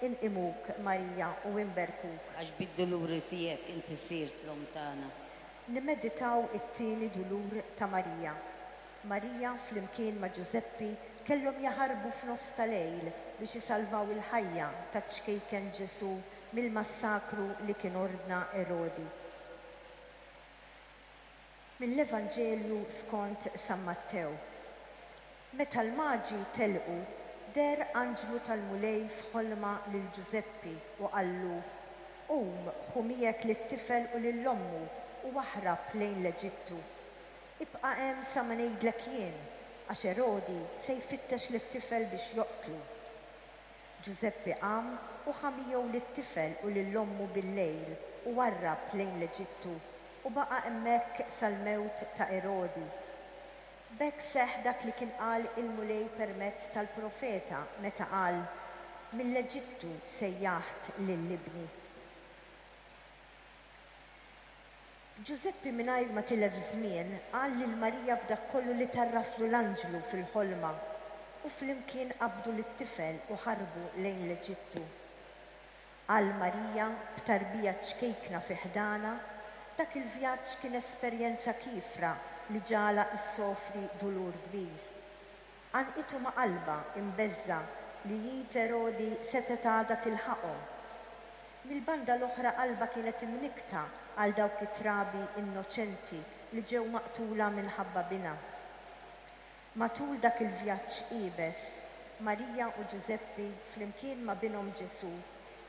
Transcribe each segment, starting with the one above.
Inqimuk, Marija, u inberkuk. Għax bid-duluri tiegħek inti sirt l-Omm tagħna. Nimmeditaw it-tieni dulur ta' Marija. Marija flimkien ma' Ġużeppi kellhom jaħarbu f'nofs ta' lejl biex isalvaw il-ħajja taċ-ċkejken Ġesù mill-massakru li kien ordna Erodi. Mill-Evanġelju skont San Mattew. Meta l-Maġi telqu, deher anġlu tal-Mulej f'ħolma lil Ġużeppi u qallu, Qum, ħu miegħek lit-tifel u lil ommu u aħrab lejn l-Eġittu. Ibqa' hemm sa ma ngħidlek jien, għax Erodi se jfittex lit-tifel biex joqtlu. Ġużeppi qam u ħa miegħu lit-tifel u lil ommu billejl u warrab lejn l-Eġittu u baqa' hemmhekk sal-mewt ta' Erodi. B'hekk seħħ dak li kien qal il-Mulej permezz tal-profeta meta qal, Mill-Eġittu sejjaħt lil ibni. Ġużeppi mingħajr ma tilef żmien qal lil Marija b'dak kollu li tgħarraflu l-anġlu fil-ħolma, u flimkien qabdu lit-tifel u ħarbu lejn l-Eġittu. Għal Marija, b'tarbija ċkejkna fi ħdanha, dak il-vjaġġ kien esperjenza kiefra li ġagħalha issofri dulur kbir. Għannqitu ma' qalbha imbeżżgħa li id Erodi setgħet għadha tilħaqhom. Mill-banda l-oħra qalbha kienet imnikkta għal dawk it-trabi innoċenti li ġew maqtula minħabba binha. Matul dak il-vjaġġ iebes, Marija u Ġużeppi flimkien ma' binhom Ġesù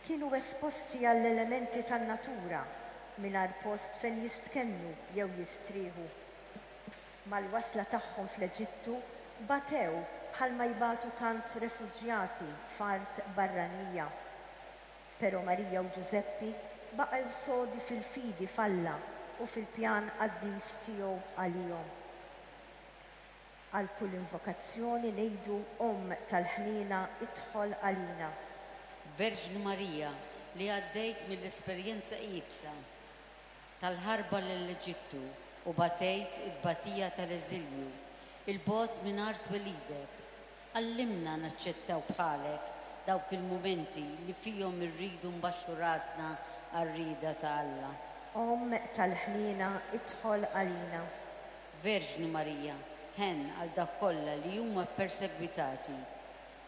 kienu esposti għall-elementi tan-natura mingħajr post fejn jistkennu jew jistrieħu. Mal-wasla tagħhom fl-Eġittu, batew bħalma jbatu tant refuġjati f'art barranija. Però Marija u Ġużeppi baqgħu sodi fil-fidi f'Alla u fil-pjan qaddis tiegħu għalihom. Għal kull invokazzjoni ngħidu Omm tal-ħniena idħol għalina. Verġni Marija li għaddejt mill-esperjenza iebsa tal-ħarba lill-Eġittu u batejt it-tbatija tal-eżilju 'il bogħod minn art twelidek, għallimna naċċettaw bħalek dawk il-mumenti li fihom irridu nbaxxu rasna għar-rieda ta' Alla. Omm tal-ħniena idħol għalina. Verġni Marija, ħenn għal dawk kollha li huma ppersegwitati.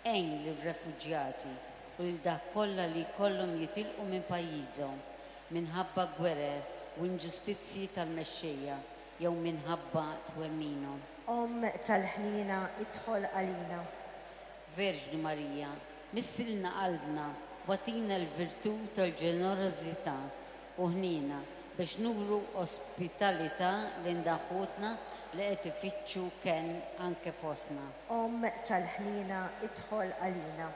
Għin lir-refuġjati u lil dawk kollha li jkollhom jitilqu minn pajjiżhom minħabba gwerer u inġustizzji tal-mexxejja jew minħabba twemminhom. Omm tal-ħniena idħol għalina. Verġni Marija, missilna qalbna u agħtina l-virtù tal-ġenerożità u ħniena biex nuru ospitalità lejn dawk ħutna li qed ifittxu kenn anke fostna. Omm tal-ħniena idħol għalina.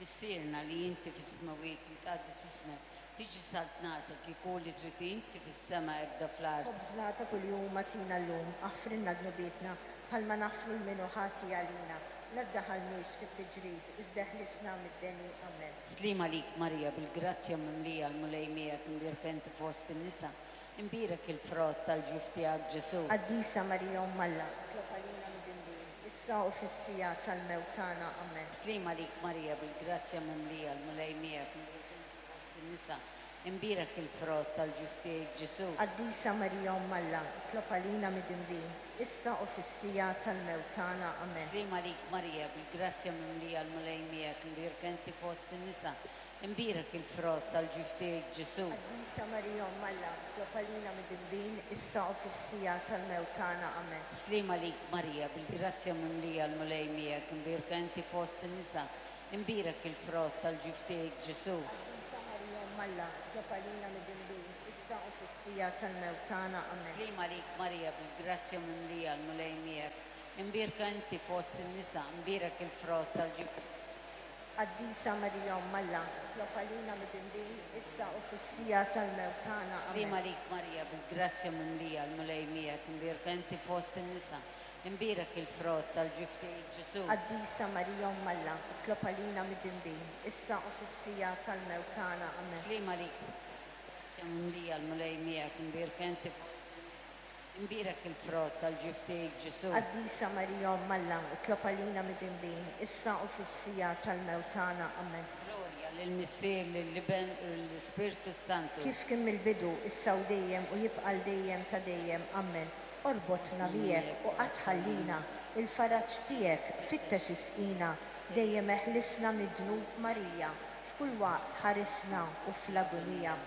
Missierna li inti fis-smewwiet jitqaddes ismek, tiġi saltnatek, ikun li trid int kif fis-sema hekk fl-art. Ħobżna ta' kuljum agħtina llum, aħfrilna dnubietna, bħalma naħfru 'l min hu ħati għalina. La ddaħħalniex fit-tiġrib, iżda eħlisna mid-deni. Amen. Sliem għalik Marija, bil-grazzja mimlija l-Mulej miegħek, imbierka inti fost in-nisa, imbierek il-frott tal-ġuf tiegħek Ġesù. Qaddisa Marija Omm Alla, itlob għalina midinbin, issa u fis-siegħa tal-mewt tagħna. Amen. Sliem għalik Marija, bil-grazzja mimlija l-Mulej miegħek, imbierka inti fost in-nisa, imbierek il-frott tal-ġuf tiegħek Ġesù. Qaddisa Marija Omm Alla, itlob għalina midinbin, issa u fis-siegħa tal-mewt tagħna. Amen. Sliem għalik Marija, bil-grazzja mimlija l-Mulej miegħek, imbierka inti fost in-nisa, imbierek il-frott tal-ġuf tiegħek Ġesù. Qaddisa Marija Omm Alla, itlob għalina midinbin, issa u fis-siegħa tal-mewt tagħna. Amen. Sliem għalik Marija, bil-grazzja mimlija l-Mulej miegħek, imbierka inti fost in-nisa, imbierek il-frott tal-ġuf tiegħek Ġesù. Qaddisa Marija Omm Alla, itlob għalina midinbin, issa u fis-siegħa tal-mewt tagħna. Amen. Sliem għalik Marija, bil-grazzja mimlija l-Mulej miegħek, imbierka inti fost in-nisa, imbierek il-frott tal-ġuf tiegħek Ġesù. Qaddisa Marija Omm Alla, itlob għalina midinbin, issa u fis-siegħa tal-mewt tagħna. Sliem Amen. għalik Marija, bil-grazzja mimlija l-Mulej miegħek, imbierka inti fost in-nisa, imbierek il-frott tal-ġuf tiegħek Ġesù. Qaddisa Marija Omm Alla, itlob għalina midinbin, issa u fis-siegħa tal-mewt tagħna. Amen. Sliem għalik Marija, bil-grazzja mimlija l-Mulej miegħek, imbierka inti fost in-nisa. Imbierek il-frott tal-ġuf tiegħek Ġesù. Qaddisa Marija Omm Alla, itlob għalina midinbin, issa u fis-siegħa tal-mewt tagħna. Amen. Glorja lill-Missier, lill-Iben u lill-Ispirtu s-Santu. Kif kien mill-bidu, issa u dejjem u jibqa' għal dejjem ta' dejjem. Amen. Orbotna miegħek u qatt tħallina, il-faraġ tiegħek fittex isqina, dejjem eħlisna mid-dnub Marija, f'kull waqt ħarisna u fl-agunija.